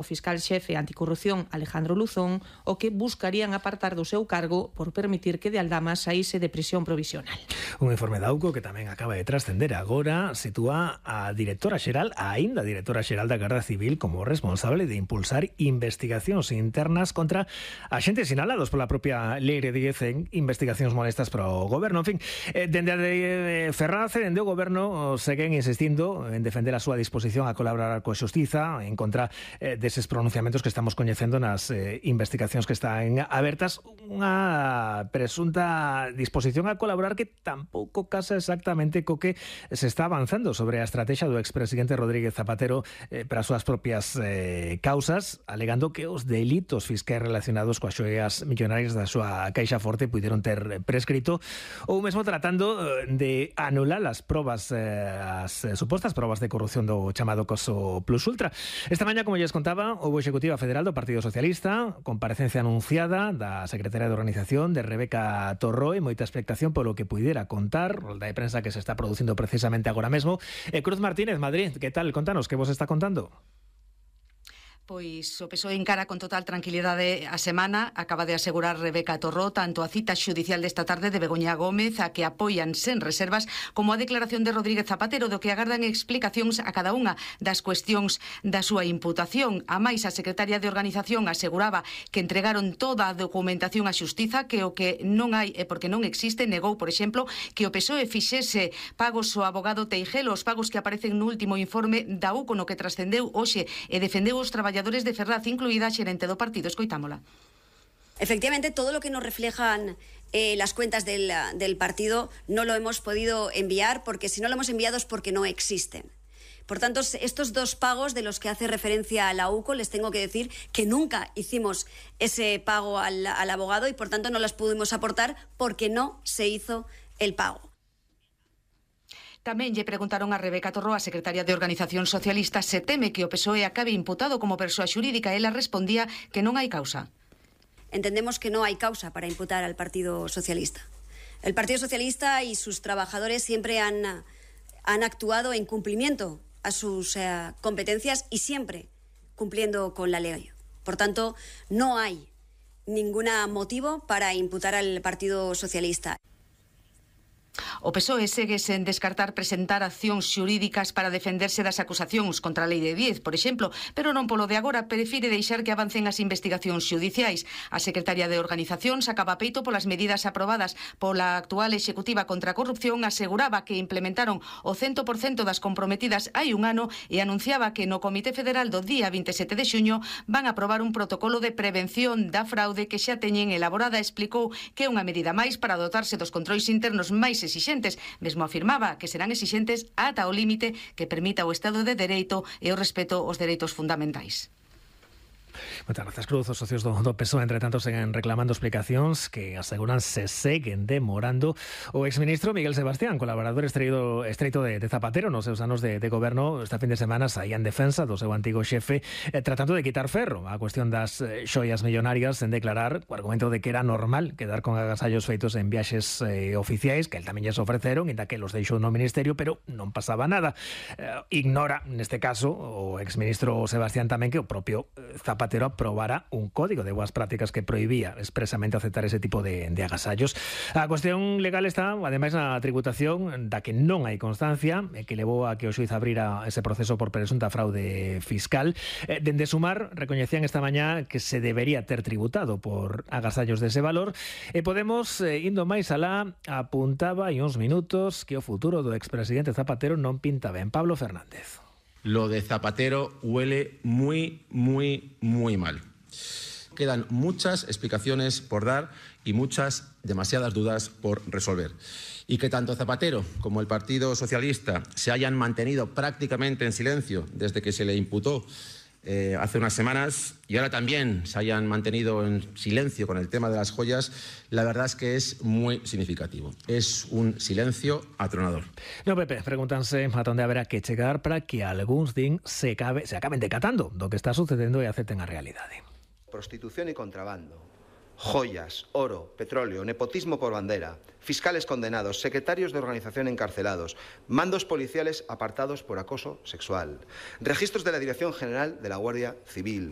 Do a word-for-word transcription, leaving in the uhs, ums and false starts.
o fiscal xefe anticorrupción Alejandro Luzón, o que buscarían apartar do seu cargo por permitir que de Aldama saíse de prisión provisional. Un informe de AUCO que tamén acaba de trascender agora sitúa a directora xeral, a aínda directora xeral da Garda Civil, como responsable de impulsar investigacións internas contra axentes sinalados pola propia Lei diez en investigacións molestas para o goberno. En fin, eh, dende a de Ferraz e dende o goberno seguen insistindo en defender a súa disposición a colaborar coa xustiza en contra eh, deses pronunciamentos que estamos coñecendo nas eh, investigacións que están abertas. Unha presunta disposición a colaborar que tampouco casa exactamente co que se está avanzando sobre a estrategia do expresidente Rodríguez Zapatero eh, para as súas propias eh, causas, alegando que os delitos fiscais relacionados coas xoias millonarias da súa caixa forte puideron ter prescrito, ou mesmo tratando de anular as probas, eh, as supostas probas de corrupción do chamado caso Plus Ultra. Esta mañá, como lles contaba, houbo Executiva Federal do Partido Socialista, comparecencia anunciada da secretaria de Organización de Rebeca Torró e moita expectación polo que puidera contar, rolda de prensa que se está producindo precisamente agora mesmo. Eh, Cruz Martínez, Madrid, que tal? Contanos, que vos está contando? Pois o P S O E encara con total tranquilidade a semana. Acaba de asegurar Rebeca Torró tanto a cita xudicial desta tarde de Begoña Gómez, a que apoian sen reservas, como a declaración de Rodríguez Zapatero, do que agardan explicacións a cada unha das cuestións da súa imputación. A máis, a secretaria de Organización aseguraba que entregaron toda a documentación á xustiza, que o que non hai e porque non existe, negou, por exemplo, que o P S O E fixese pagos ao abogado Teijelo, os pagos que aparecen no último informe da U C O, no que trascendeu hoxe e defendeu os traballadores de Ferraz, incluída a xerente do partido. Escoitámola. Efectivamente, todo lo que nos reflejan eh, las cuentas del, del partido no lo hemos podido enviar, porque si no lo hemos enviado es porque no existen. Por tanto, estos dos pagos de los que hace referencia a la U C O, les tengo que decir que nunca hicimos ese pago al, al abogado y por tanto no las pudimos aportar porque no se hizo el pago. Tamén lle preguntaron a Rebeca Torró, a secretaria de Organización Socialista, se teme que o P S O E acabe imputado como persoa xurídica. Ela respondía que non hai causa. Entendemos que no hay causa para imputar al Partido Socialista. El Partido Socialista y sus trabajadores siempre han, han actuado en cumplimiento a sus eh, competencias y siempre cumpliendo con la ley. Por tanto, no hay ningún motivo para imputar al Partido Socialista. O P S O E segue sen descartar presentar accións xurídicas para defenderse das acusacións contra a Lei de diez, por exemplo, pero non polo de agora, prefire deixar que avancen as investigacións xudiciais. A secretaria de Organización sacaba peito polas medidas aprobadas pola actual Executiva contra a corrupción, aseguraba que implementaron o cento por cento das comprometidas hai un ano e anunciaba que no Comité Federal do día vinte e sete de xuño van a aprobar un protocolo de prevención da fraude que xa teñen elaborada. Explicou que é unha medida máis para dotarse dos controis internos máis exixentes. Mesmo afirmaba que serán exixentes ata o límite que permita o Estado de Dereito e o respeto aos dereitos fundamentais. Moitas grazas, Cruz. Os socios do, do P S O E, entre tanto, seguen reclamando explicacións que aseguran se seguen demorando. O exministro Miguel Sebastián, colaborador estreito, estreito de, de Zapatero nos seus anos de, de goberno, esta fin de semana saía en defensa do seu antigo xefe, eh, tratando de quitar ferro a cuestión das eh, xoias millonarias, en declarar o argumento de que era normal quedar con agasallos feitos en viaxes eh, oficiais, que el tamén lles ofreceron, e da que los deixou no ministerio, pero non pasaba nada. Eh, ignora, neste caso, o exministro Sebastián tamén que o propio eh, Zapatero aprobara un código de boas prácticas que prohibía expresamente aceptar ese tipo de, de agasallos. A cuestión legal está, ademais, na tributación, da que non hai constancia, e que levou a que o xuiz abrira ese proceso por presunta fraude fiscal. Eh, dende Sumar recoñecían esta mañá que se debería ter tributado por agasallos dese valor, e Podemos, eh, indo máis alá, apuntaba hai uns minutos que o futuro do expresidente Zapatero non pinta ben. Pablo Fernández. Lo de Zapatero huele muy, muy, muy mal. Quedan muchas explicaciones por dar y muchas, demasiadas dudas por resolver. Y que tanto Zapatero como el Partido Socialista se hayan mantenido prácticamente en silencio desde que se le imputó eh, hace unas semanas y ahora también se hayan mantenido en silencio con el tema de las joyas, la verdad es que es muy significativo. Es un silencio atronador. No, Pepe, pregúntanse a dónde habrá que chegar para que algúns din se, cabe, se acaben decatando do que está sucedendo e acepten a realidade. Prostitución y contrabando, joyas, oro, petróleo, nepotismo por bandera, fiscales condenados, secretarios de organización encarcelados, mandos policiales apartados por acoso sexual, registros de la Dirección General de la Guardia Civil,